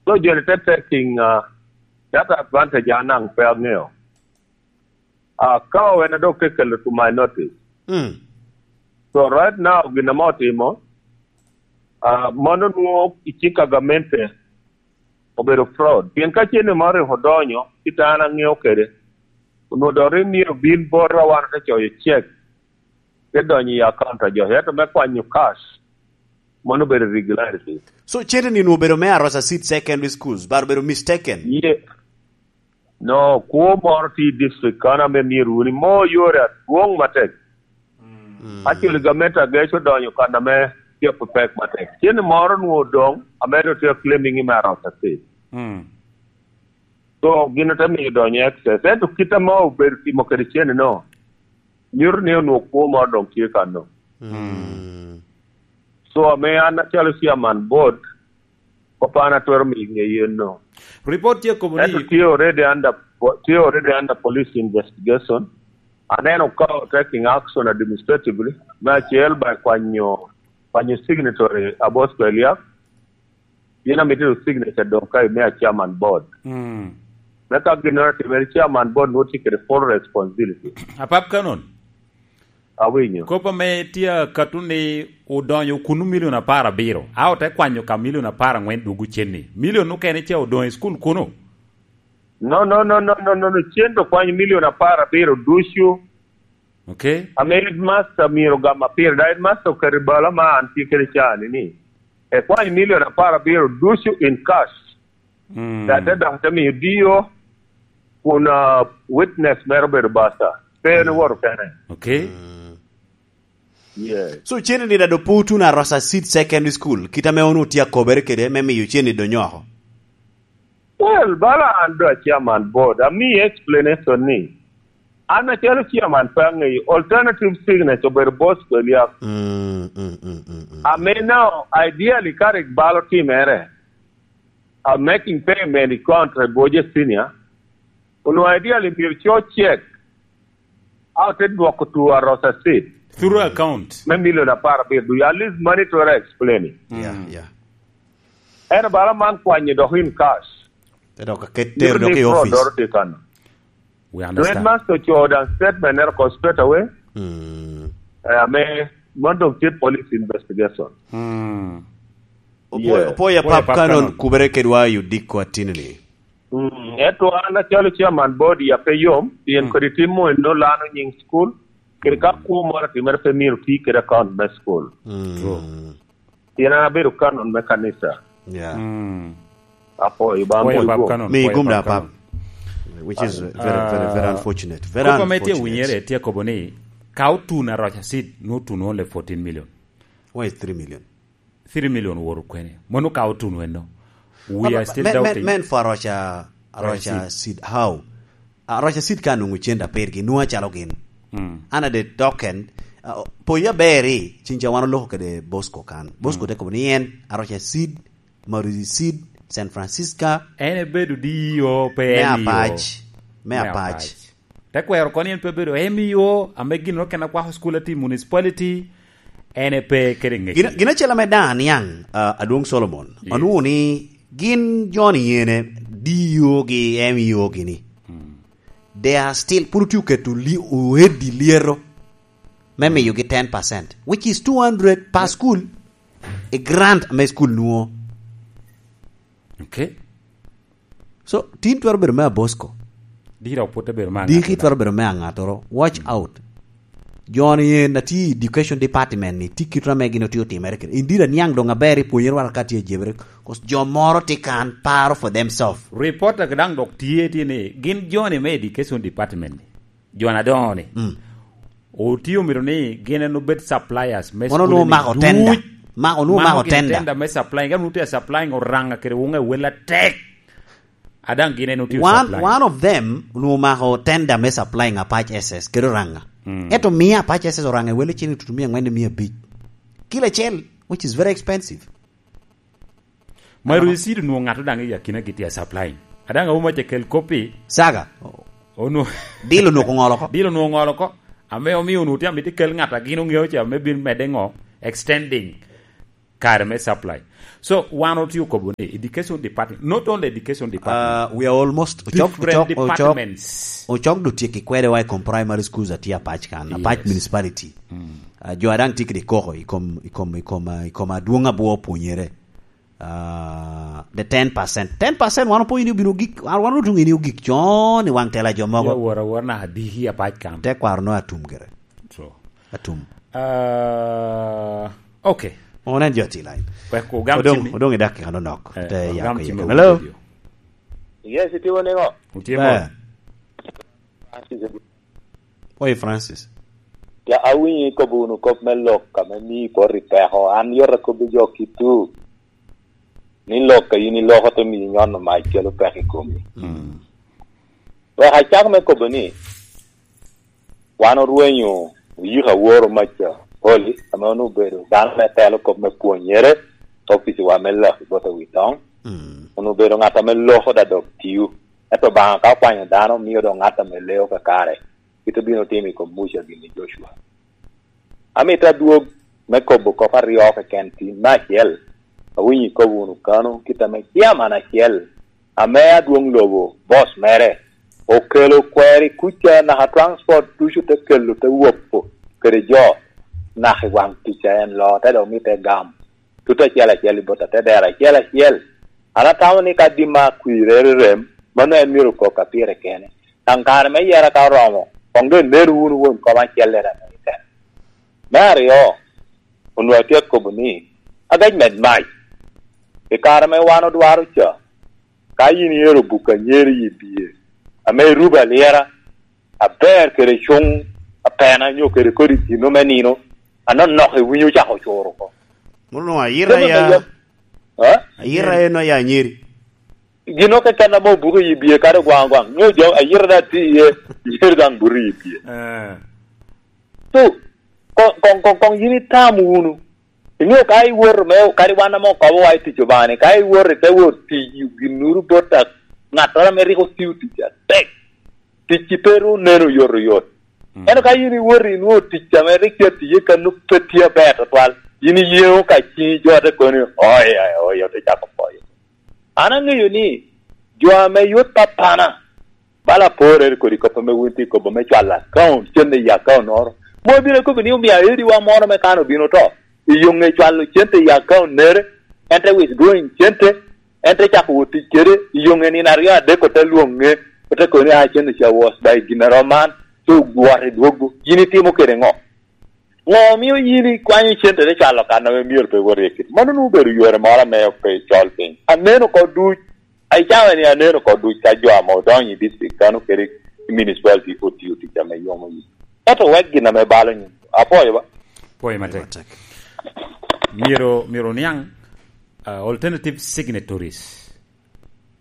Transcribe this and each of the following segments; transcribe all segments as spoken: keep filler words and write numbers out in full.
So joni te taking, uh, that advantage an daŋ pe aŋeo. Uh, ka en a dok te kelo to my notice. Mm. So right now, gin ame otimo, uh, mano nwoŋo i cik a gamente obedo fraud. Pien ka cene moro rik odonyo, kit an aŋeo kede, onwoŋo dok rik myero bin bota wan ote coyo cek, te donyo i account a jo, ento me kwanyo cash, mano obedo irregularity. So, cene ni nwoŋo obedo me Arosa Seed Secondary Schools, but obedo mistaken. Ye. No, kwo moro tye i district kan ame myero wun imo yore adwoŋ matek. Mm. Actually, gamente ageco odonyo kan ame tye pek matek. Cene moro nwoŋo odoŋ, ame dok tye claiming me Arosa Seed. Mm. So, gin ote miyo donyo excess. Ento kit ame obedo timo kede cene no, nyuto ni onwoŋo kwo moro doŋ tye kanno. Mm. So, ame an acalo chairman board, kop an atwero miyo ŋeye enno. Report tye kobo ni ento tye already under, tye already under police investigation. Aneno ka taking action administratively, me acel by kwanyo, kwanyo signatory Abosco Eliak, pien amito signature doŋ ka ime a chairman board. Mm. Me ka gin otimere, chairman board nwoŋo tye kede full responsibility. Apap Canon. Awinyo. Kop ame tye akato ni odonyo kunu milion apar abiro, a ote kwanyo ka milion apar aŋwen dwogo cen-ni. Milion okene ca odonyo i cukul kunu. No, no, no, no, no, no, no. Cen dok kwanyo milion apar abiro ducu. Okay. Ame headmaster myero gam apiro. Da headmaster oketo i bala ma an tye kede cani ni, ekwanyo milion apar abiro ducu in cash. Mm. Da te dok te miyo D O kun, ah, witness mere obedo basa. Pe en owoto kene. Okay. Mm. Yeah. So, cene ni da do pe otuno Arosa Seed Secondary School, kit ame onwoŋo tye akobere kede, me miyo cene ni donyo oko? Well, bala an do a chairman board, ami explanation ni, an acalo chairman pe aŋeyo, alternative signature obedo Bosco Eliak. Mm, mm, mm, mm, mm. Ame now, ideally, ka rik bal otimere, a making payment i contract Boje Senior, onwoŋo ideally myero co check, a ote dwoko to Arosa Seed. Through account. Me milion apar abiro ducu. At least money to explain it. Yeah, mm, yeah. Ento bala man kwanyo dok in cash. Te dok aket tero dok i office. Doro tye kan. We understand. Headmaster oco daŋ statement nero ko straight away. Mm. Eh, ame, man doŋ tye police investigation. Mm. Opwoyo, yeah, opwoyo Apap Canon, kubere kedwa i odiko atini ni. Mm, ento an acalo chairman board ya pe yom, pien, mm, kodi timo eno lano nying school, kede ka kwo moro atimere pe myero ti kede account me school. Mm. True. Pien an abedo canon me kanisa. Yeah. Mm. Apwoyo, ba apwoyo, apwoyo Apap Canon, mi apwoyo gum da Apap Canon. Which is, ah, very, very, very, ah, unfortunate. Very unfortunate. Kop ame tye winyere tye kobo ni, ka otuno Aroca Seed, no otuno only fourteen million. Why is three million? Three million woro kwene? Mano ka otuno eno. We are still doubting. Men for Aroca, Aroca Seed. How? Aroca Seed ka nwoŋo cen da pergi, nwoŋo acalo gin. Mm. An ade token, uh, poyo aber i, cin ca wan oloko kede Bosco kan. Bosco, mm, te kobo ni en, Aroca Seed, Maruzi Seed, San Francisco. En ebedo D E O, pe M E O. Me Apac. Me Apac. Te kwero kono en pe bedo M E O, ame gin okene akwako school ati municipality, en e pe kede ŋec. Gin, gin acel ame daŋ aniaŋ, ah, Adwoŋ Solomon, yes, onwoŋo ni gin jo ni ene D E O gi M E O gini. Mm. They are still, pwod otye oketo li-, oedi lyeto me miyogi ten percent, which is two hundred per school, i grant ame school nwoŋo. Okay. So, tin twero bedo me Abosco. Dira opwote bedo me aŋattoro. Diki twero bedo me aŋattoro. Watch out. Jo ni en atye i education department ni, tye kit ame gin otye otimere kede. In dira niaŋ doŋ aber i pwonyere wara ka tye ajebere. 'Cause jo moro tye kan paro for themselves. Reporter daŋ dok tye, tye ni, gin jo ni me education department ni. Jo na doŋo ni. Mm. Otye omito ni gin en obed suppliers me school ni duc. Mano onwoŋo mako tender. Mako, onwoŋo mako tender. Mako gin tender me supplying. Ka nwoŋo tye supplying Oranga kede Wunga ewel atek. A daŋ gin en otye supplying. One, one of them onwoŋo mako tender me supplying Apac S S kede Oranga. Mm. Ento miyo Apac S S Oranga ewel cen i tutumia aŋwen i mia abic. Kilo acel, which is very expensive. Maruzi Seed onwoŋo ŋato daŋ i akinagi tye a supplying. A daŋ auma ce kel koppi. Saga. Onwoŋo dilo onwoŋo ŋolo oko. Dilo onwoŋo ŋolo oko. Ame omio onwoŋo tye amito kel ŋat a gin oŋeo ca me bin medde ŋo? Extending. Kare me supply. So, wan otye okobo ni education department, not only education department, Uh, we are almost, Ocok, different Ocok, Ocok, departments. Ocok do tyeki kwede wa i kom primary schools atye apac kan, apac Yes. municipality. Uh, jo a daŋ tye kede koko i kom, i kom, i kom, uh, i kom adwoŋ abwo pwonyere. Uh, the ten percent. Ten percent wan opwonyo ni obino gik, wan, wan otuŋ ni ogik con i waŋ tela jo mogo. Yo wora wora na adiki apac kan. Te kwaro no atum gere. So. Atum. Uh, okay. Onen jo ti line. Wek ogam Odong, cimmi. Odong i dakika no nok. Eh, Te ya ogam ko cimmi yeka. Hello? Video. Yes, itimo niŋo? Utye Eh. mot. Francis. Oi, Francis. Ya, awinyo ikobo wunu kop me lok ame mii ipot i peko. An yot akobbi jo kitu. Ni lok a in iloko te miyo nyono mac kelo peko i komi. Mm. Wek acak me kobo ni, wan orwenyo oyiko aworo maca, Holy, ame onwoŋo obedo dano me telo kop me pwonyere, opic wa me lak i bot Awitoŋ. Mm. Onwoŋo obedo ŋat ame loko da dog tiu. Ento Obaŋa ka okwanyo dano, mio dok ŋat ame leo kakare. Kit obino timo i kom Muca gin i Joshua. Amito adwog me kobo kop aryo keken tin. Me acel, awinyo ikobo wunu kano kit ame ciaman acel ame adwoŋ lobo, boss mere, okelo kweri kuca naka transport ducu te kelo te wopo kede jo naka i waŋ tic a en lo, te dok mite gam. Tut acel acel i bot atedero acel acel. An atamo ni ka dimma akwirere rem, mano en myero okok ka pire kene. Daŋ kare me yera ka oromo, koŋ doŋ inen wunu won kop acellere ame itemo. Me aryo, onwoŋo atye akobo ni, agec med mac. I kare ame wan odwaro ca, ka yin iero buka anyeri i bie, ame irubo alyera, aber kede cuŋ apena nyo kede kodi gino me nino, anonok iwinyo ocako curo oko. Mono ayira Keme ya, me yam- Ha? Ayira eno ya anyeri. Gino keken ame obuto i bie kadi gwaŋ gwaŋ. Nyo jo ayira da ti iye, yeri daŋ buto i bie. Eh. So, koŋ, koŋ, koŋ, koŋ yin itam wunu. Iŋeo ka iwoto me, kadi wan ame okobo wa i tic Obaŋa ni, ka iwoto ite wot tiyo ginnuru bot a-, ŋattoro ame rik otiyo tic atek, ticci pe ru neno oyotoyot. Mm. Ento ka yin iwoto inwoŋo tic ame rik tye atiye kano pe tye aber tutwal, yin iyeŋo ka ciŋi jo te koni, "Oya, oya, oya," te cako poyo. An aŋeyo ni jo ame yot papana, bala aporere kodi kop ame wun tye kobo me cwalo account, cente i account oro. Mom ibino kobo ni omio aediwa moro me kano obino to. Iyoŋe cwalo cente i account nere, en te withdrawing cente, en te cako wot tic kede, iyoŋe nino aryo adek ote lwoŋe, ote koni, "Ah, cente ca was by gin arom man," so gwot i dwoggo. Yin itimo kede ŋo? Ŋo omio yin ikwanyo cente te cwalo kan ame myero pe wot iye kit? Mano nwoŋo obedo yore moro ame pe col piny. Aneno oko duc, a, icamo ni aneno oko duc ka jo ame odonyo i district kano kede i municipality otiyo tic ame yomo yi. Ento wek gin ame balo nyo. Apwoyo ba. Pwoyo matek. Matek. Myero, myero oniaŋ, uh, alternative signatories.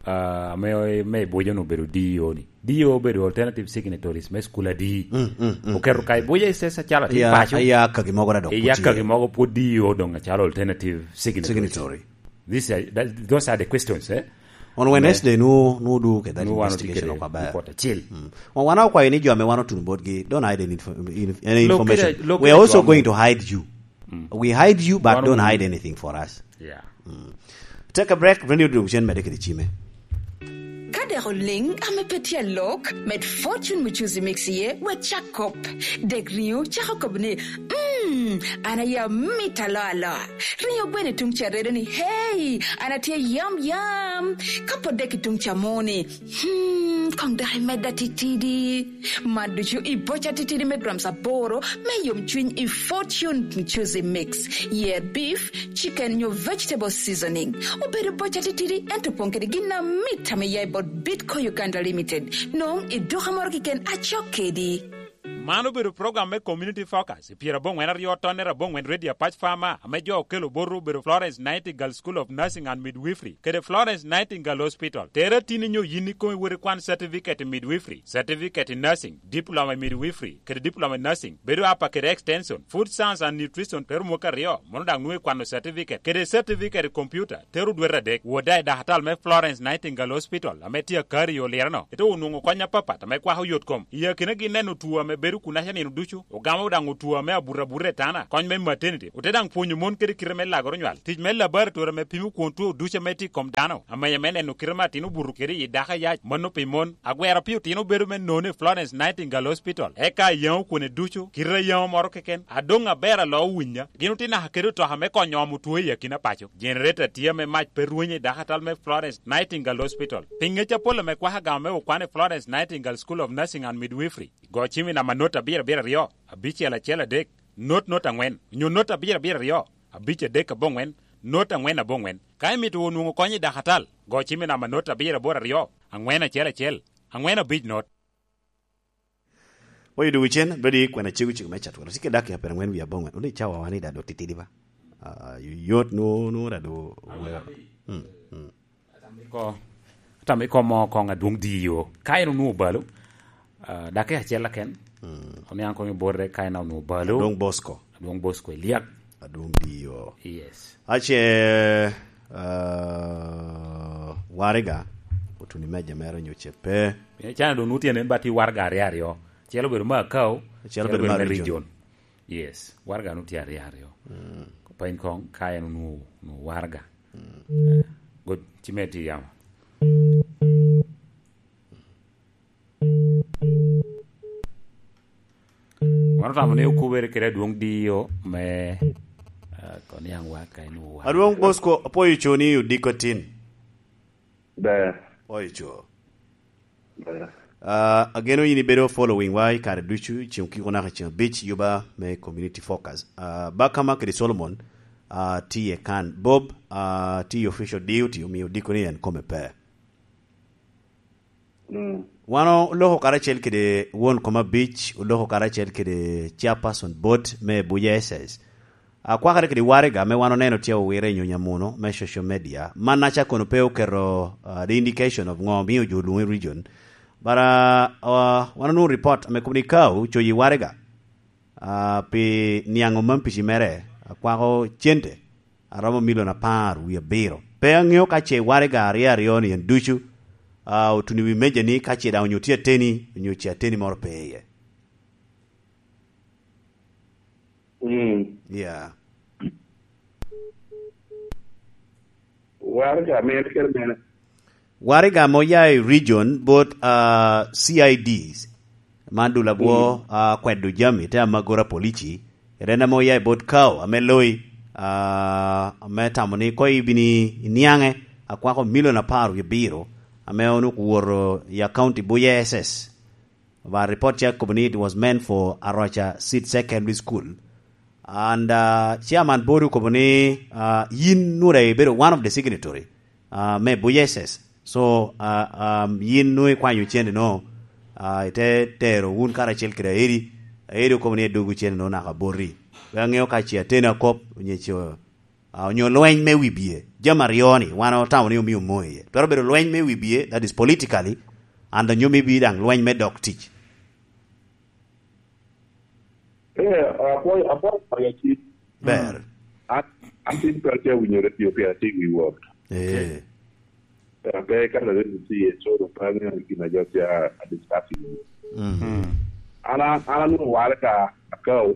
Ah, ame, me Abuja-nu obedo D E O ni. D E O obedo alternative signatories me school adi. Mm, mm, mm, Oketo ka Abuja S S acalo atin Iya, paco. Iya, kagi mogo dok Iya, pwod tye. Kagi mogo pwod D E O doŋ acalo alternative signatories. Signatory. These are, that, those are the questions, eh? On Wednesday, nu, nu du ke that Nu wan otye investigation kede ok aber. Report acel. Mm. Wan, wan okwayo ni jo ame wan otuno botgi, don't hide any info-, in-, any Lok kede, information. Lok We are kede also dwongo. Going to hide you. Mm. We hide you, but Wan don't omo. Hide anything for us. Yeah. Mm. Take a break, Randy Odongo Cen medde kede cime. Ka dek oliŋ ame pe tye alok, med Fortune Muchuzi Mix iye, wek cak kop. Dek riŋo cako kop ni, "Mm, an aye amito alo aloa." Riŋo gweno i tuŋ ca redo ni, "Hey, an atye yam yam." Ka pwod dek i tuŋ ca mo ni, "Hmm, koŋ dok imedda titidi." Man ducu i boca titidi me grams aboro me yomcwiny i Fortune Muchuzi Mix. Yer beef, chicken nyo vegetable seasoning. Obedo boca titidi, ento opoŋ kede gin amit ame ya i bot Bitco Uganda Limited. Noŋ i duka moro keken acok kedi. Man obedo program me Community Focus i pyerabongwen aryo tonnere abongwen Radio Apac Farmer, ame jo okelo botwu obedo Florence Nightingale School of Nursing and Midwifery kede Florence Nightingale Hospital. Tere atini nyo yin ikomi wot ikwan certificate i midwifery, certificate i nursing, diploma i midwifery, kede diploma i nursing, bedo apa kede extension, food science and nutrition, tero mwaka aryo, mono daŋ nwoŋo ikwano certificate, kede certificate i computer, tero dwete adek, wot daŋ i dakatal me Florence Nightingale Hospital, ame tye Akari i Olireno, ite onwoŋo kony apapat ame kwako yot kom. I akinagi neno two ame bedo Kun aca nino ducu, ogamo daŋ otwo ame abuto abuta i tana, kony me maternity, ote daŋ pwonyo mon kede kite me lagoro nywal, tic me laboratory ame pimo kwon two ducu ame tye i kom dano, amenya me neno kite me atin obuto kede i dako ayac, mano pi mon. Agwera pi otino bedo me nono i Florence Nightingale Hospital, eka ayeŋo kwone ducu, kite ayeŋo moro keken, adoŋ aber alo owinya. Gin otye naka kede otoka me konyo omo two i akina paco. Generator tye ame mac pe rwenyo i dakatal me Florence Nightingale Hospital. Pi ŋec apol ame kwaka gamo me okwan i Florence Nightingale School of Nursing and Midwifery, go cim i namba not abiro abiro aryo, abicel acel adek, not not angwen, onyo not abiro abiro aryo, abic adek aboŋwen, not angwen aboŋwen. Ka imito wunu nwoŋo kony i dakatal, go cim i namba not abiro aboro aryo, angwen acel acel, angwen abic not. Oyo dwogo cen, bedo i kwena cego cego me catwara. Tye kede dakika pyerangwen wie aboŋwen. Onyo i cawa wan i dado titidi ba. Ah, yot no, no dado. Mm, mm. Ko, atamo iko mo koŋ adwoŋ diyo. Ka en onwoŋo balo, ah, dakika acel aken. Mm. Oniaŋ koŋ iborre ka en onwoŋo balo. Adwoŋ Bosco. Adwoŋ Bosco Eliak. Adwoŋ diyo. Yes. Ace, ah, wariga, otuni meja mere onyo cepe. Can doŋ nutye nen ba tye waraga aryo aryo. Acel obedo me Akau, acel obedo me region. Yes, waraga nu tye aryo aryo. Mm. Piny koŋ ka en onwoŋo, onwoŋo waraga. Mm. Eh, go, ci me tye yamo. Wan otamo ni okubere kede adwoŋ diyo me, eh, koniaŋ wa ka en owa. Adwoŋ Bosco, apwoyo coni odiko tin. Ber. Apwoyo co. Ber. Ah, ageno yin ibedo following wa i kare ducu, i ceng okiko naka ceng abic, yuba me Community Focus. Ah, Bakama kede Solomon, ah, tye kan. Bob, ah, tye i official duty, omio odiko ni en kome pe. Mm. Wan oloko karacel kede won kom abic, oloko karacel kede chairperson board me Abuja S S. Akwakere kede waraga ame wan oneno tye owire i nyonyo amuno me social media. Mannaca kono pe oketo, uh, the indication of ŋo omio jo olwoŋo i region. But, uh, uh, wan onwoŋo report ame kobo ni Kau coyo i waraga, uh, pi niaŋ omam pici mere, akwako cente aromo milion apar wie abiro. Pe aŋeo ka ce waraga aryo aryo ni en ducu, ah, otuno i wi meja ni ka ce daŋ onyo tye ateni, onyo ce ateni moro pe iye. Mm. Yeah. Waraga mere kede mene. Waraga ame oya i region bot, ah, C I Ds, man dul abwo, mm, ah, kwedo jami, te amagora polici, kede en ame oya i bot Kau, ame loi, ah, ame tamo ni koŋ ibin iniaŋe, akwako milion apar wie abiro, ame onwoŋo owoto i account i Buya S S. But report ca kobo ni it was meant for Aroca Seed Secondary School. And, uh, chairman board okobo ni, uh, yin nwoŋo ibedo one of the signatory, uh, me Buya S S. So, uh, um, yin nwoŋo ikwanyo cente no, uh, ite tero wun karacel kede Aeri. Aeri okobo ni edwogo cente no naka boti. Pe aŋeo ka ce ateni akop, onyo ce ah, onyo lweny me wi bie. Jami aryo-ni, wan otamo ni omio moo iye. Twero bedo lweny me wi bie, that is politically, and onyo maybe daŋ lweny me dok tic. Eh, apwoyo, apwoyo, apwoyo, Chief. Ber. Mm. An, an tin pe atye awinyo radio pien atye i wi wot. Eh. Eh, pe ka radio tye iye, so, pe aŋeo gin a jo tye a, a discussing. Mm. Mm. An, an, an anwoŋo waraga Akau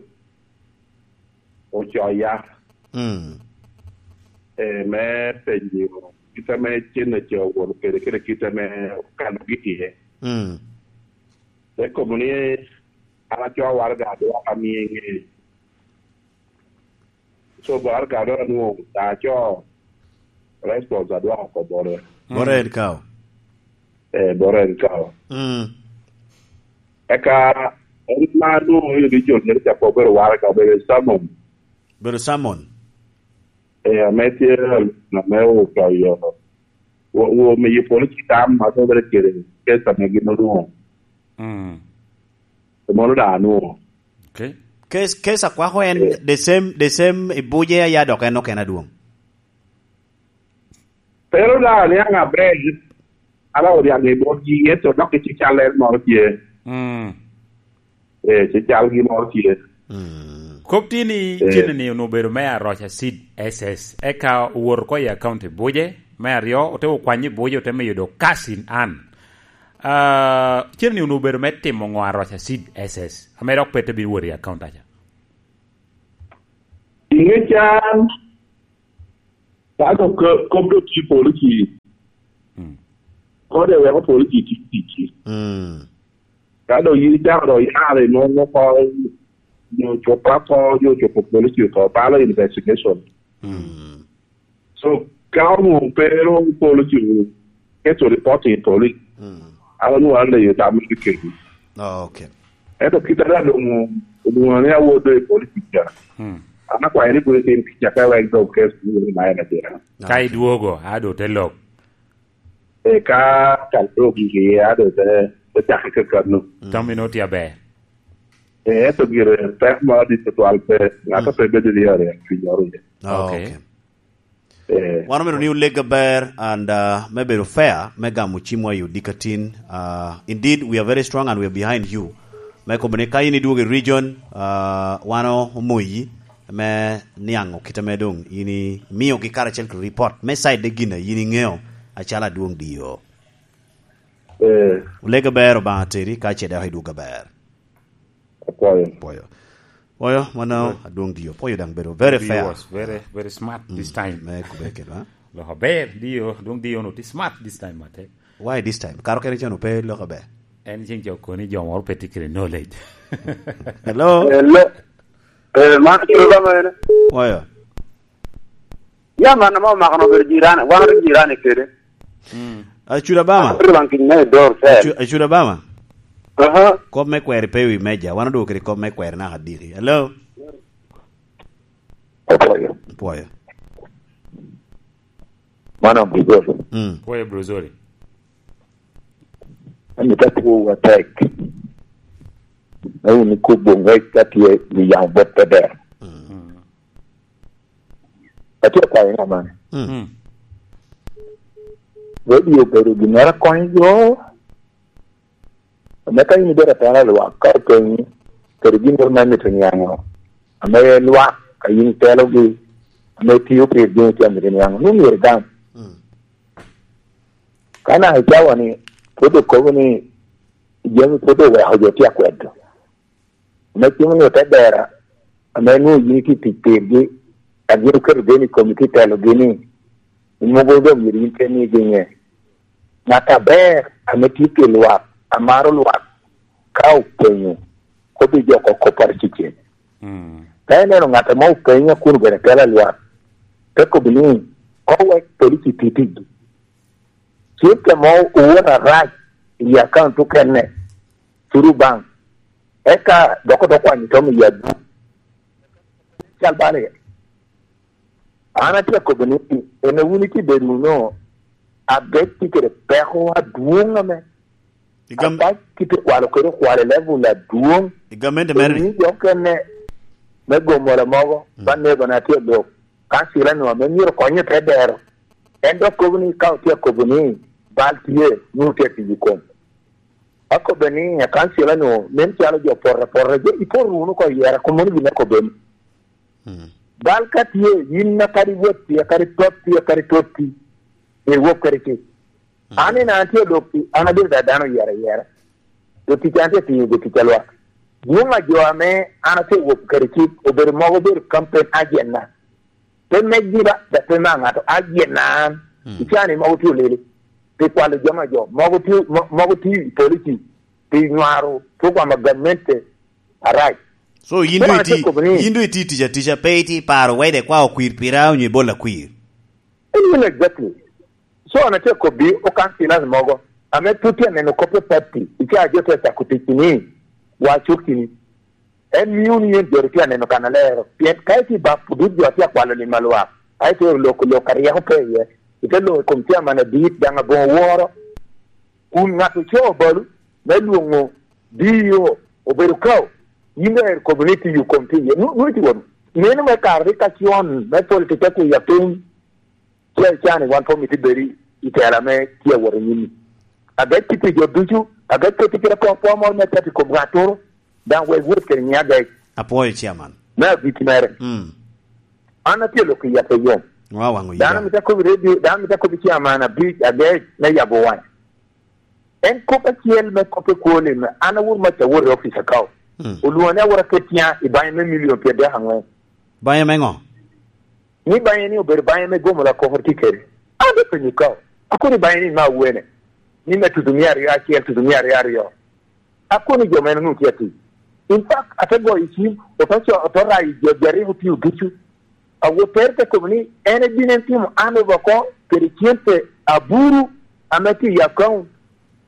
ocoya. Mm. Eh, me penyo kit ame cen aca owoto kede, kede kit ame okanogi iye. Mm. Te kobo ni an acoo waraga adwoko amie ŋe. So, waraga adwoko anwoŋo daŋ acoo response adwoko oko bote. Mm. Bote en Kau. Eh, bote en Kau. Mm. Eka en ma nwoŋo i region mere ca pe obedo waraga, obedo Samon. Bedo Samon. Eh, ame tye ame otoyo. Wo, wo me ye polo ci tam ma dobe kede kes ame gin onwoŋo. Mm. Mono daŋ anwoŋo. Okay. Kes, kes akwako en, eh, the same, the same i Buja ya dok en okene adwoŋ. Pero daŋ aniaŋ aber, ala oniaŋ i botgi, ento dok i cical en moro tye. Mm. Eh, cical gi moro tye. Mm. Kop tye ni, eh, cene ni onwoŋo obedo me Aroca Seed S S. Eka owoto oko i account i Buje. Me aryo, ote okwanyo i Buje, ote miyo do Kasin An. Ah, cen ni onwoŋo obedo me timo ŋo Aroca Seed S S? Ame dok pe te bino wot i account aca. Inge can, ka dok ko-, kop dok tye polo ci. Mm. Kode weko polo ci tye ticci. Mm. Ka dok yin icako dok yare mo, mo ko, nyo cupa ko, nyo cupa polo ci ko, balo investigation. Mm. So, ka onwoŋo pe ro polo ci, keto report i police, mm, an onwoŋo an leyo tam me kegi. Oh, okay. Ento kit a doŋ onwoŋo ni awoto i police ca. Mm. An akwayo ni bino tim kica ka wek dog case ni ma en adira. Ka, okay, idwogo, a do te lok. E ka kal dog i iye, a do te, te cako kakano. Mm. Tam ino tye aber. E, ento gire pek mo adit tutwal pe, ŋat, mm, pe bedo ni ori, cuny oro iye. Oh, okay. Okay. Eh. Wan omito ni oleg aber and, uh, me bedo fair, me gamo cimwa i odiko atin. Uh, indeed, we are very strong and we are behind you. Me kobo ni ka in idwogo i region, uh, wan o-, omoyi me niaŋo kit ame doŋ in imiogi karacel kede report me side de gin a in iŋeo acalo adwoŋ D O. Eh. Oleg aber, Obaŋa teri, ka ce dok idwogo aber. Apwoyo. Pwoyo. Pwoyo, mano, good, adwoŋ D O. Pwoyo daŋ bedo very fair. He was very, very smart this, mm, time. Me kubbe kede, ha? Lok aber, D O, adwoŋ D O no tye smart this time, mate. Why this time? Karo kene can ope lok aber. En cen ca okoni jo moro pe tye kede knowledge. Hello? Hello. Eh, man Cuda ma ene. Pwoyo. Ya man ame omako no bedo jirani, wan obedo jirani kede. Mm. Acuda Bama. Acuda Bama kic me dor sel. Acu-, Acuda Bama. Aha. Kop me kweri pe wi meja, wan odwogo kede kop me kweri naka adiki. Hello? Apwoyo. Pwoyo. Mano Bruzoli. Mm. Pwoyo Bruzoli. An mito apwowu atek. Me wun ikobo ngec ka tye i yamo bot pe ber. Mm. Atye akwayo ni aman. Mm. Mm. Radio obedo gin moro akonyo jo. Ame ka in ibedo atera lwak, ka openyi, kede gin moro ma imito niaŋo, ame lwak a in itelogi, ame tio pirgi, tye amito niaŋo, nwoŋo myero igam. Mm. Ka naka icawa ni, pwod okobo ni, jami pwod oweko jo tye akwedo. Ame cimo ni ote bera, ame nwoŋo yin itye tic pirgi, a gin oketo gen i komi, tye telogi ni, in mogo doŋ myero yin pe migi ŋe. Ŋat aber ame tye pi lwak, amaro lwak, ka openyo, kobbi jo oko kopporo cecen. Mm. Ka ineno ŋat ame openyo kun bene telo lwak, te kobbi ni, ko wek polici ti ticgi. Cente mo owot arac i account okene, through bank. Eka dok odok kwanyo tom i adwoŋ. Cal bala iye. An atye akobo ni, en a wun itye bedo wunu, agec tye kede peko adwoŋ ame, igam-, apac kite kwalo kede okwalo i level adwoŋ. I gamente mere ni. Omiyo jo okene me gomola mogo, mm, ba nebo na tye lok, kancila nu ame myero konye te dero. En dok kobo ni ka otye akobo ni bal tye, nwoŋo tye atiyo kom. Akobbe ni, akancila nu, nen calo jo poto apota, je, ipoto wunu oko i yera, kun mano gin akobbe ni. Mm. Bal ka tye, yin a kadi wot tye, kadi tot tye, kadi tot tye, myero iwop kadi tic. Mm. An ina an tye lok, an abedo da dano yere yere. Jo tic an tye tiyo, jo tic alwak. Dwoŋ a jo ame an atye wop kede cik, obedo mogo obedo campaign agent na. Pe me jiba, dok pe me aŋato, agent na an. Mm. Icani mogo tye olili. Pi kwalo jami a jo, mogo tye, mo-, mogo tye i polici, pi nywaro program a gamente arac. So, yin doŋ iti-, yin doŋ iti tic atica, pe iti paro wede kwa okwir pira onyo ibol akwir? Exactly. So, an atye kobbi okancilas mogo, ame pwod tye aneno kop i patti, i caa jo tye acako tic ni, wa cukki ni. En mio ni en jori tye aneno kan alero, pien ka itye i bap, odut jo atye akwalo lim a lwak, a ite loko lok a ryeko pe iye, ite loko i kom caman adit, daŋ aboŋo woro. Kun ŋat ocoo balo, me lwoŋo D E O obedo kao, yin daŋ ikobo ni tiyo kom tye iye. Nu-, nu iti wot. Meno me kare rik ka con, me politika kwiya piny, Tye i can-ni, wan pe omito ibed i, i tela ame tye awot i nyim-mi. Agec kit pi jo ducu, agec keti kede po, po moro me ket i kom ŋattoro, daŋ wek wot kede nyiŋ agec. Apwoyo, Chairman. Me agikki mere. Mm. An atye lok i yat ayom. Wa waŋo ida. Dano mito akobi redio, dano mito akobi Chairman abic, agec me yabo waŋ. En kop acel me kop i kwoli, an awot mac awot i opic akao. Mm. Olwoŋo ni awot aket tya i banya me milion pyerdek aŋwen. Banya me ŋo? Ni banya ni obedo banya me gomo la koko tye kede. An te penyo kao. Akono banya ni ŋa wene? Ni me tutu mia aryo acel, tutu mia aryo aryo. Akono jo mene nu tye atic. In fact, ate goyo cim, oto co, oto rayo jo, jo aryo otio ducu. Awot tere te kobo ni en ebino en timo an oko kede cente aburu ame tye i account.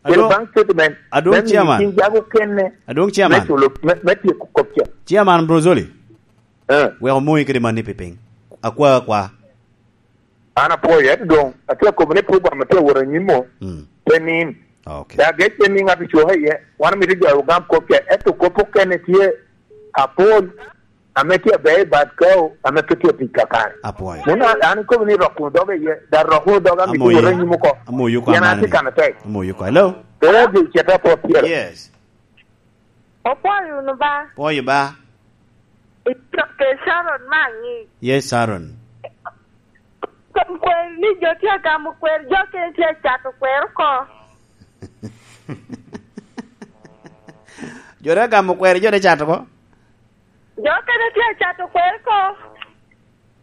Kede Adwoŋ, bank statement. Adwoŋ Me miyo chairman. Cing jago kene. Adwoŋ chairman. Me culo, me, me tyeko kop ca. Chairman Brozoli. Eh. Wek omoyi kede mani pi piny. Akwa, akwa. An apwoyo, ento doŋ atye akobo ni program atye awot anyim mo, Mm. pe nin. Okay. Da gec pe ni ŋat ocoka iye, wan omito jo ogam kop ca, ento kop okene tye apol, ame tye aber i bad kao, ame pe tye atic kakare. Apwoyo. Mano an, an ikobo ni rok wunu doga iye, da rok wunu doga, amito Amoyi. Wot anyim oko. Amoyi oko Pien an amani. Atye ka matek. Amoyi oko. Hello? Hello, Jay Cheta Paul Pierre. Yes. Opwoyo wunu ba? Pwoyo ba? Itoke Sharon me aŋic. Yes, Sharon. Kom kwer ni jo tye agamo kwer, jo kene tye acato kwer oko. Jo tye agamo kwer, jo tye cato oko? Jo kene tye acato kwer oko.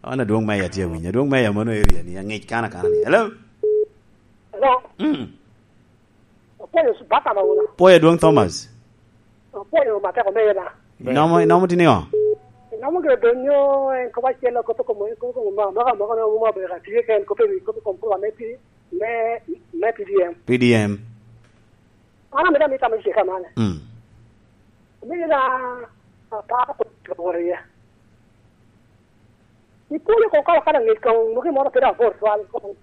An adwoŋ meya tye awinyo. Adwoŋ meya mono area ni, aŋic kana kana ni. Hello? Hello? Mm. Apwoyo baka ma wuna. Pwoyo adwoŋ Thomas. Apwoyo mateko me ena. Inomo, inomo tini o? Inomo gire donyo en kop acel, kop kom, kop kom ma, maka, maka na wuma beka tiye ken kop, kop kom program me pi, me, me P D M. P D M. An amito, amito, amito cika mane. Mm. Amito na, apa, apa, apa, Ipwonyo koŋ kalo kala ŋec koŋ, muki moro pe dok abor twal koŋ.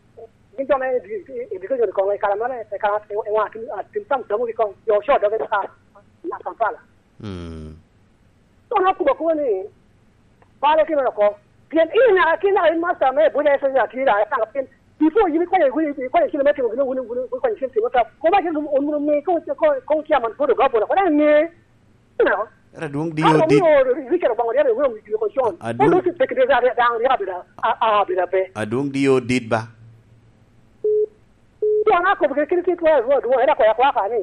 Gin jo me edu-, education koŋ i kare mane, i kare, i, i wan atim, atim tam domogi koŋ, jo oco doge ka, na Kampala. Mm. Kono akuba kuba ni, pale kino loko. Pien in naka, kin naka in master me Abuja S S atira, kaka pien, before yin ikwanyo, ikwanyo cilo me timo gino, wun, wun, wun ikwanyo cilo timo tap. Koma cilo, wun, wun, wun, koŋ, koŋ, koŋ chairman photo ga bola, kono ŋe. Ento adwoŋ D O dit. Adwoŋ, adwoŋ D O dit ba. Wan akobo kede kede kit wa adwoŋ, adwoŋ, ena koya kwa ka ni,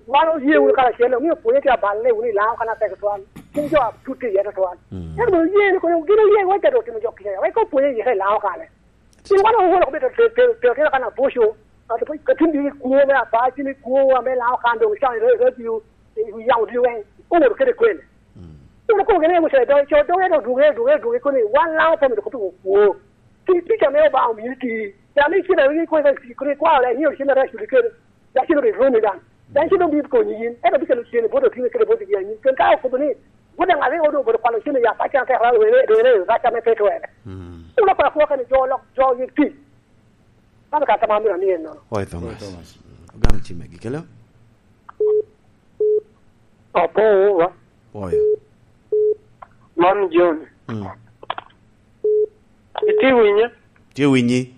wan oye wunu karacel, omio pwonye tye aballe wunu i Laŋo kan atek twal. Gin jo a tut tye iye twal. Mm. Ento mono oye ni kono gin oye wek jadot timo jok kica, wek opwonye iye ka i Laŋo kane. Pien wan owoto kede tero, tero, tero, tero kan aboco, ka tin bino i kwo me apa, tin i kwo ame Laŋo kan doŋ can i radio, i yamo dwe weng, owoto kede kwene. Mm. Kono kono gene muca i doge, co doge dok dwoge, dwoge, dwoge, koni wan Laŋo pe myero kop i kwo. Ti tic ame Obaŋa omio ti. Dano icina wi kwe, kwe, kwe, kwa ole, ni ocina re culi kede. Dano cina ri rumi dan. Dano cina bi konyi yin. Ento bi kelo cene bodo tine kede bodo gi anyin. Ken ka okobo ni, bodo ŋabe odo bodo kwalo cene ya paca te ra wele, wele, raca me pe twere. Mm. Uno kwa kwa kene jo lok, jo yik ti. Mano ka tamam mira ni en nono. Oi, Thomas. Oi, Thomas. Ogam cime gi kelo. Apo wa. Oyo. Man John. Mm. Iti winyo? Tye winyi.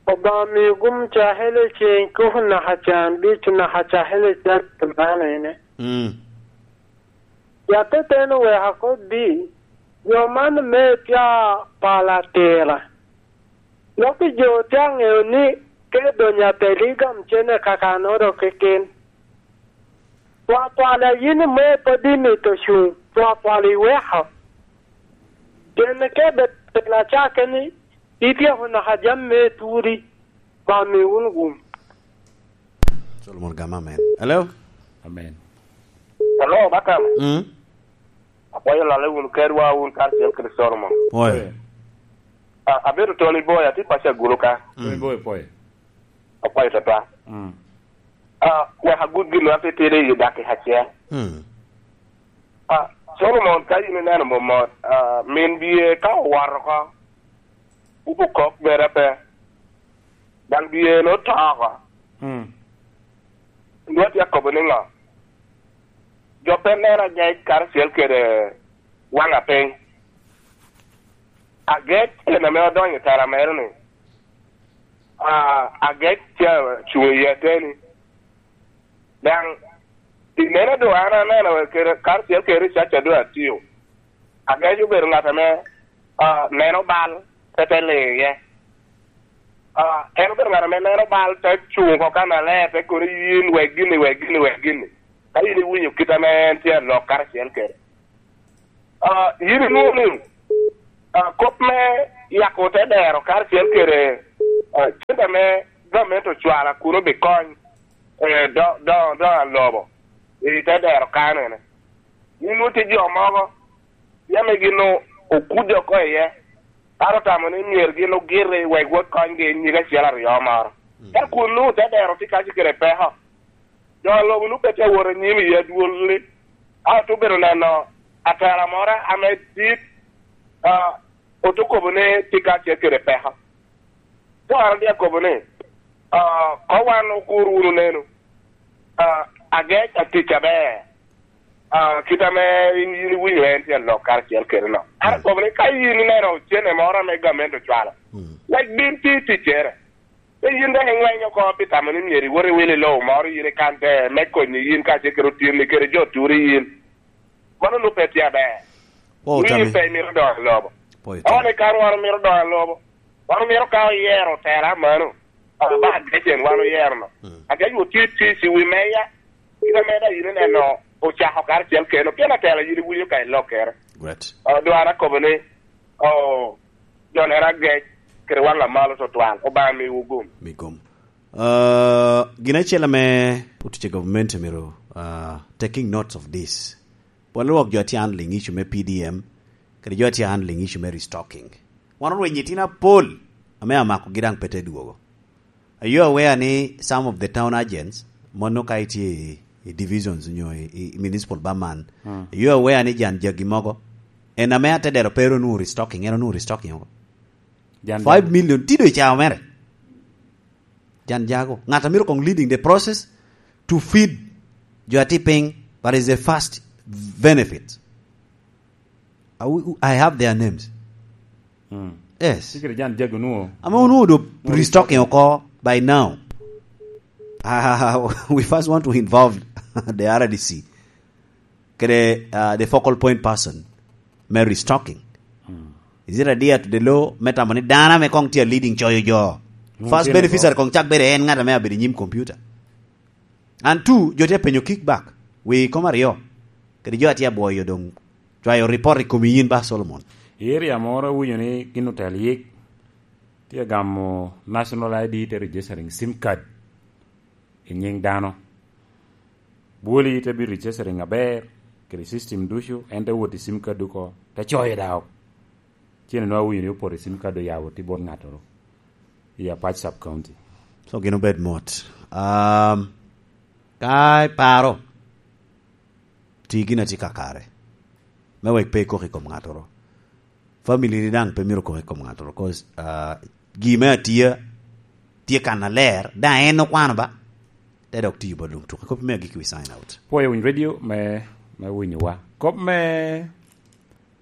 Obaŋa miyo gum ca hele ceng koko naka can, ducu naka ca hele can, mano ene. Mm. Yateteno wek akobbi, jo man me tye apala atira. Dok jo tye aŋeo ni ka idonyo atela igam cene kakanono keken. Twatwal a yin ime pwod imito cuŋ, twatwal iweko. Pien ka ibed atela acakke ni ityeko naka jami me turi, ba mi wun wum. Solomon gam amen. Hello? Amen. Hello, Bakam. Mm. Apwoyo lale wun kedwa, wun karacel kede Solomon. Oyo. A, abedo Tony Boy, atye paco Agulu ka. Mm. Tony Boy, pwoyo. Apwoyo tata. Mm. A, wek agut gin atitidi i dakika acel. Mm. A, Solomon, ka in ineno mot mot, a, min bye ka owoto oko, kubo kok mere pe. Daŋ bye en oto oko. Mm. Nwa tye akobo ni ŋo? Jo pe neno agec karacel kede waŋ apiny. Agec en ame odonyo i tela mere ni, a, agec tye cuŋ i ateni. Daŋ i neno doŋ an aneno kede, karacel kede research a doŋ atio. Agec obedo ŋat ame, a, neno bal, pe te liŋ iye. Ah, en obedo ngat ame neno bal, te cuŋ oko kannaler, te kono yin wek gini, wek gini, wek gini. Ka yin iwinyo kit ame en tye alok karacel kede. Ah, yin inwoŋo ni, ah, kop me yako te dero karacel kede, ah, cente ame gamente ocwalo kun obikony, eh, do-, do-, do alobo i te dero kanene. Yin nwoŋo tye jo mogo, yam ame gin o-, okuto oko iye, an otamo ni myero gin ogiti wek wot konygi nyig acel aryo moro. Mm. Ka kun nwoŋo te dero tye kaco kede peko, jo alobo nwoŋo pe tye awot anyim i adwol-li. An ote obedo neno atela moro ame dit, ah, ote okobo ni tye kaco kede peko. Te wara tye akobo ni, ah, ko wan okur wunu neno, ah, agec atic aber. Ah, kit ame in, in iwinyo en tye alok karacel kede no. An Mm. akobo ni ka in ineno cene moro ame gamente ocwalo, Mm. wek bin ti ticcere. Pe yin dok ingweny oko pi tamo ni myero iwot iwil i lobo moro yin ikan te me konyi yin kacel kede otinni kede jo turi yin. Mano nwoŋo pe tye aber. Pwoo Yin Otami. Pe imito donyo i lobo. Pwoo Otami. Awa ni kan wan omito donyo i lobo. Wan omito ka oyero otela mano. Aba agecen wan oyero no. Mm. Agec wot tye tic i wi meya. Kit ame da yin ineno ocako karacel keno. Pien atela yin iwinyo ka ilokere. Great. Ah, dwara akobo ni, oh, jo nera agec, kede wan lamalo tutwal. Obaŋa miwu gum. Mi gum. Ah, gin acel ame otic i government myero, ah, taking notes of this. Pwal lwak jo atye handling issue me P D M, kede jo atye handling issue me restocking. Wan orwenyo itino apol ame amako gi daŋ pe te dwogo. Are you aware ni some of the town agents, mono ka itye i, i divisions nyo i, i municipal ba man, Mm. Are you aware ni jan jagi mogo, en ame atedero pe ero nwoŋo restocking, en onwoŋo restocking oko? Jan five million, tido i cawa mere. Jan jago. Ŋat a myero kong leading the process to feed jo atye piny, but is the first benefit. I, I have their names. Mm. Yes. Sikiri jan jago nuo. Ame onwoŋo do restocking oko by now. Ah, we first want to involve the R D C. Kede, uh, the focal point person, me restocking. Mm. Is it a dear to the law? Me tamo ni dano ame kong tye a leading coyo jo. First beneficiary kong cak bedo en ŋat ame abedo i nyim computer. And two, jo tye penyo kickback. Wi kom aryo. Kede jo atye abwoyo doŋ cwayo report i komi yin ba Solomon. I area moro awinyo ni gin otel yik tye agamo national I D te registering sim card i nyiŋ dano. Bwoli te bito i registering aber, kede system ducu, en te wot i sim card oko, te coyo daŋ oko. Cen nwa awinyo ni opoto i sim card oyabo tye bot ŋattoro i Apac Sub County. So gin obed mot. Um, ka iparo, ti gin atye kakare. Me wek pe ikok i kom ŋattoro. Family ni daŋ pe myero okok i kom ŋattoro, 'cause, uh, gi me atia tye kan aler, daŋ en okwano ba, te dok tiyo bot lum tuko. Kop me agikki we sign out. Pwoyo winy radio me, me winyowa. Kop me,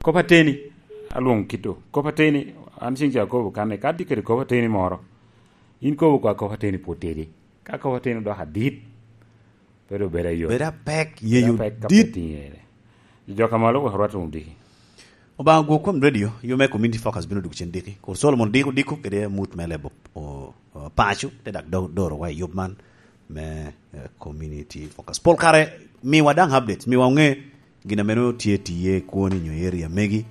kop ateni, alwong kito. Kop ateni, an ceng ca akobo kan ni, ka tye kede kop ateni moro, in kobo kwa kop ateni pwod tidi. Ka kop ateni odoko adit, pe doŋ bedo ayot. Bedo apek, yeyo dit. Bedo apek ka pe tiŋere. Jo ka malo wek orwat wunu diki. Obaŋa gwok kwam radio, yo me Community Focus bino duk cen diki. Kur Solomon diko, diko kede mut me lebo, o, o, paco, te dak do-, doro wa i yub man me, eh, Community Focus. Pol kare, miwa daŋ updates, miwa oŋe gin ame nwoŋo tye tiye kwoni nyo area megi,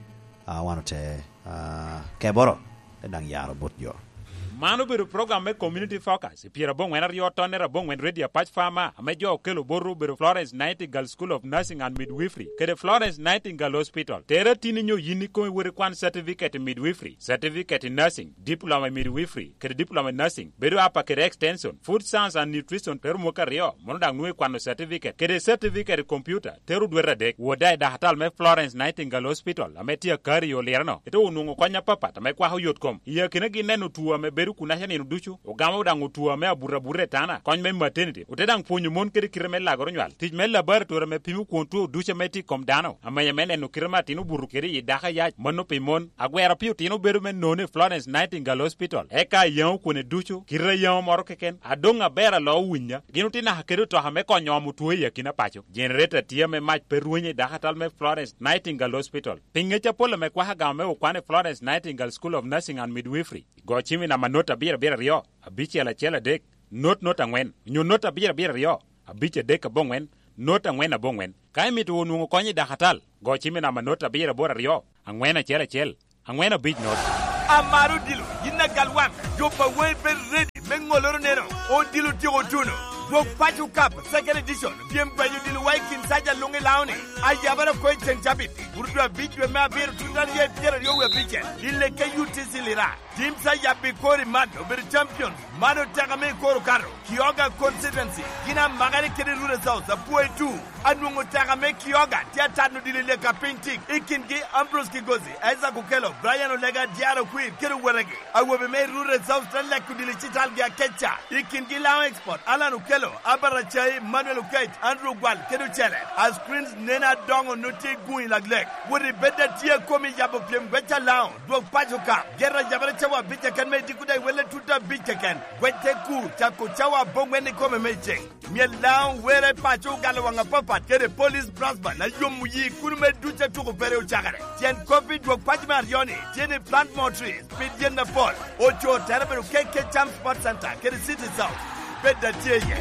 a, wan ote, a, keboro, te daŋ yaro bot jo. Man obedo program me Community Focus, i pyeraboŋwen aryo tonnere aboŋwen Radio Apac Farmer, ame jo okelo botwu obedo Florence Nightingale School of Nursing and Midwifery, kede Florence Nightingale Hospital. Tere atini nyo yin ikomi wot ikwan certificate i midwifery, certificate i nursing, diploma i midwifery, kede diploma i nursing, bedo apa kede extension, food science and nutrition, te rumok aryo, mono daŋ nwoŋo ikwano certificate, kede certificate i computer, tero dwete adek, wot daŋ i dakatal me Florence Nightingale Hospital, ame tye Akari i Oliro-no, ite onwoŋo kony apapat ame kwako yot kom. I akinagi neno two ame bedo kunaca nino ducu, ogamo daŋ two ame abuto abuta i tana, kony me maternity, ote daŋ pwonyo mon kede kite me lagoro nywal, tic me laboratory ame pimo kwon two ducu ame tye i kom dano, amenya me neno kite me atin obuto kede i dako ayac, mano pi mon. Agwero pi otino bedo me nono i Florence Nightingale Hospital, eka ayaŋo kwone ducu, kite ayaŋo moro keken, adoŋ aber alo owinya. Gin otye naka kede otoka me konyo omo two i akina paco. Generator tye ame mac pe rwenyo i dakatal me Florence Nightingale Hospital. Pi ngec apol ame kwako agama me okwan i Florence Nightingale School of Nursing and Midwifery, go cim i namba Not abiro abiro aryo, abicel acel adek, not not aŋwen, onyo not abiro abiro aryo, abic adek aboŋwen, not aŋwen aboŋwen. Ka imito wunu nwoŋo kony i dakatal, go cim i namba not abiro aboro aryo, aŋwen acel acel, aŋwen abic not. Amaro odilo, yin agal waŋ, jo pa waŋi bedo ready me ŋolloro neno, odilo otyeko tuno. Dwog Paco Cup, Second Edition, pyem paco odilo wa i kin saja luŋ i Laoni, ayabara oko i ceŋ cabit, burudu abic dwe me abiro, tuta ryo i pyeraryo wie abicel, i leke U T C Lira. Tim sa yabbi i kor i man obedo champions. Man oteka me i kor okato. Kioga Constituency gin amakere kede Rural South, apwoyo tu. Anwoŋo oteka me Kioga tye atano dilo i leka piny tik i kingi Ambrose Kigozi, Isaac Okello, Brian Olega, Diaro Kwir kede owetegi. Awobe me Rural South te leko dilo i citalgi akeca i kingi Laŋo Export, Alan Okello, Albert Acai, Manuel Okech, Andrew Ogwal kede ocele. As Queens neno adoŋo no tye i guŋ i laglek. Wot i bed atye a komi yabo pyem gweca Laŋo. Dwog Paco ka, ger a yabere cawa abic keken me idiko daŋ iwelle tutte abic keken. Gwec te ku, cako cawa aboŋwen ikome me iceŋ. Myel Laŋo were paco ogalo waŋ apapat kede Police Brass Band a yomo yi kuno me duc a tuko pere ocakere. Tyen kop i dwog paco me aryo-ni tye ni plant more trees pi dyen apol. Oco tere bedo K K Cham Sports Center kede City South. Bed atye iye.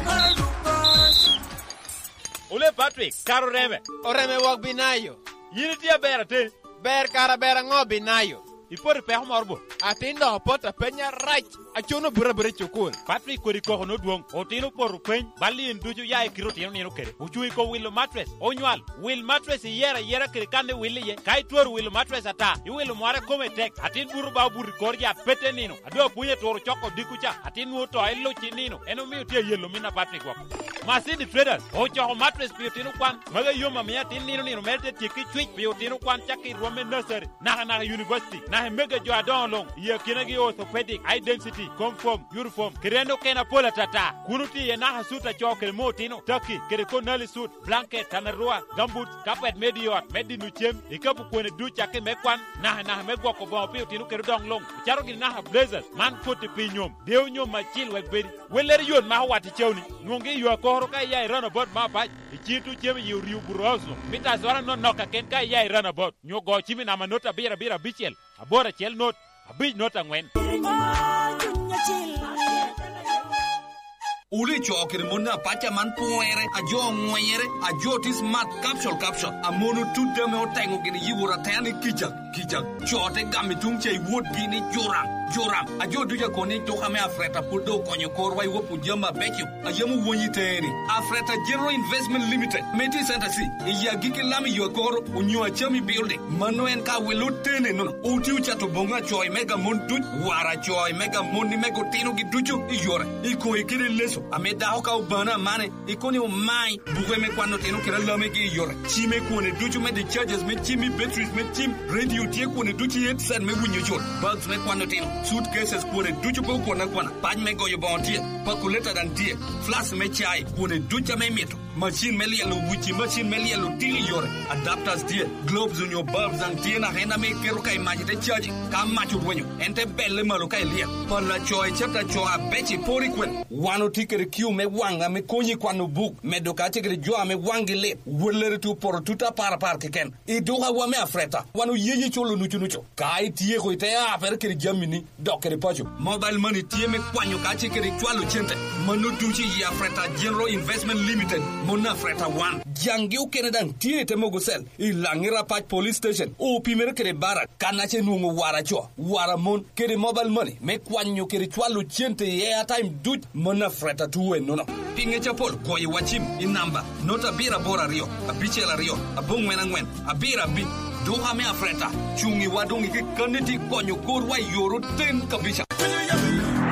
Ole Patrick, kara oreme. Oreme wok binayo. Yin itye aber ate? Ber kara ber aŋo binayo? Ipoto i peko moro bo? Atin dok apoto apeny arac. Acono buto abuta i cukul. Patrick kodi koko nodwoŋ. Otino opoto peny. Bal in ducu ya i kite otino nino kede. Ocuŋ i kom wilo matres. Onywal. Wil matres iyero ayera kede kan iwil iye. Ka itwero wilo matres ata, iwilo mware kome tek. Atin buto ba obuto i kor yat pete nino. Adwa pwony aturo coko dikku ca. Atin nwoŋo to iluc i nino. En omio tye ayelo min a Patrick woko. Masini Traders ocoko matres pi otino kwan. Magi yom amiyo atin nino nino mere te tyekki cwic pi otino kwan cakki i rwom me nursery, naka naka i university, naka i mege jo adoŋo luŋ, i akinagi orthopedic, high density, comfort, uniform, kede en okene apol atata. Kun otye iye naka sut a co kede mo otino, taki, kede konali sut, blanket, tanarua, gumboots, carpet me di ot, me dino cem, ikapu kwene duc cakki me kwan, naka naka me gwoko boŋo pi otino kede odoŋ luŋ, ocaro gini naka blazers, man koti pi nyom, deyo nyom acil wek bedi. Wellere yot mako wat i cawni. Nwoŋgi i yo akoro ka iya i runabout me apac, i cin tuŋ cem i yi oryo buto auco, mita azora nonok kaken ka iya i runabout, nyo go cim i namba not abiro abiro abicel, aboro acel not, abic not aŋwen. Wulu i co kede mon apac a man pwere, a jo oŋwenyere, a jo tye smart, capsule, capsule, a mon otut ame oteŋo gini yibo ratena ni kica. Kica, co te gamo i tuŋ ca i wotgi ni, "Joram, Joram." A jo ducu akobo ni, "Tuka me Afreta pwod doŋ okonyo korwa i wopwu jami abeco a yam owonyo i teeni." Afreta General Investment Limited, ame tye i Center C, i agikki lam i yo akoro, onyo Acami Building. Mano en ka wilo tene nono. Otye ocato boŋo acoy mega mon duc, war acoy mega mon ni mega otinogi ducu i yore. I koŋ i kede leso, ame dako ka obano amane, ikono ni omai buke me kwano otino kede alamegi i yore. Cime kwone ducu me discharges me cim i batteries me cim, radio tye kwone ducu i headset me winyo cut, bags me kwano otino, suitcases kwone ducu pe okwone akwana, pac me goyo boŋo tye, calculator daŋ tye, flask me cai kwone ducu ame imito, macin me lyelo wuci, macin me lyelo odilo i yore, adapters tye, globes onyo bulbs daŋ tye naka en ame iketo ka i mac ite caji, ka mac orwenyo, en te belle malo ka ilyel. Pala co i cata co abeco i pori kwene. Wan otye kede kiu me waŋ ame konyi i kwano buk, medo ka tye kede jo ame waŋgi lit, wellere tye opoto tut apar apar keken. I dukawa me Afreta, wan oyenyi culo nucu nucu. Ka ityeko ite apere kede jamini, dok kede paco. Mobile money tye me kwanyo ka tye kede cwalo cente. Mano ducu i Afreta General Investment Limited, mon Afreta wan. Jaŋgi okene daŋ tye i te mogo cell, i Laŋira Pac Police Station, opimere kede barak. Kan ace nwoŋo wara co, wara mon, kede mobile money me kwanyo kede cwalo cente i airtime duc, mano Afreta two ennono. Pi ŋec apol, goyo wa cim i namba not abiro aboro aryo, abicel aryo, aboŋwen aŋwen, abiro abic. Duka me Afreta, cuŋ i wa doŋ i kekkanni tye konyo korwa i yor oten kabisa.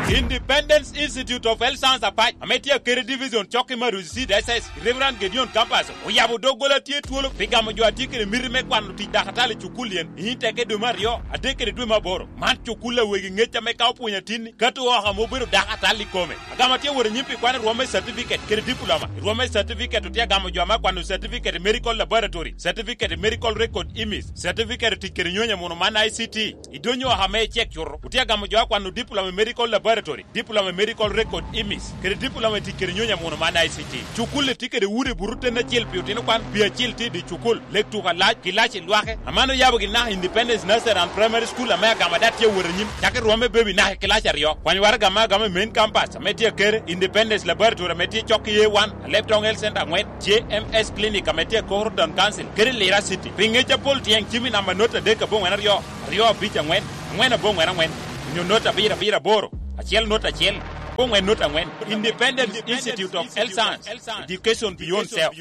Independence Institute of Health Science Apac, ame tye akede division cok i Maruzi Seed S S, Reverend Gedeon Campus, oyabo doggola tye twolo pi gamo jo a tye kede miti me kwano tic dakatali i cukul yen, i Inteke dwe me aryo, adek kede dwe me aboro. Man cukul a wegi ŋec ame ka opwonyo atinni, kato oko ame obedo dakatali i kome. Agamo tye wot anyim pi kwano rwom me certificate kede diploma. I rwom me certificate otye agamo jo ame akwano certificate i medical laboratory, certificate i medical record, imis, certificate i tic kede nyonyo muno man I C T. I dony oko ame icek cuto, otye agamo jo akwano diploma i medical laboratory. Laboratory, Diploma i Medical Record, imis, kede Diploma i tic kede nyonyo amuno man I C T. Cukul-li tye kede udi buto ten acel pi otino kwan, pi acil tye i dye cukul, lek tuko alac, ki lac i lwake. Aman oyabo gin naka Independence Nursery and Primary School ame agama data tye awot anyim, cakki rwomme baby naka i kilac aryo. Kwany waraga ame agama i main campus ame tye akere, Independence Laboratory ame tye cok i A one, Alebtong Health Center angwen, J M S Clinic ame tye i Koro Town Council, kede Lira City. Pi ngec apol tyeng cim i namba not adek aboŋwen aryo, aryo abic angwen, angwen aboŋwen angwen, onyo not abiro abiro aboro, acel not acel, aboŋwen not angwen. Independence Institute of Health Science, Education Beyond Self.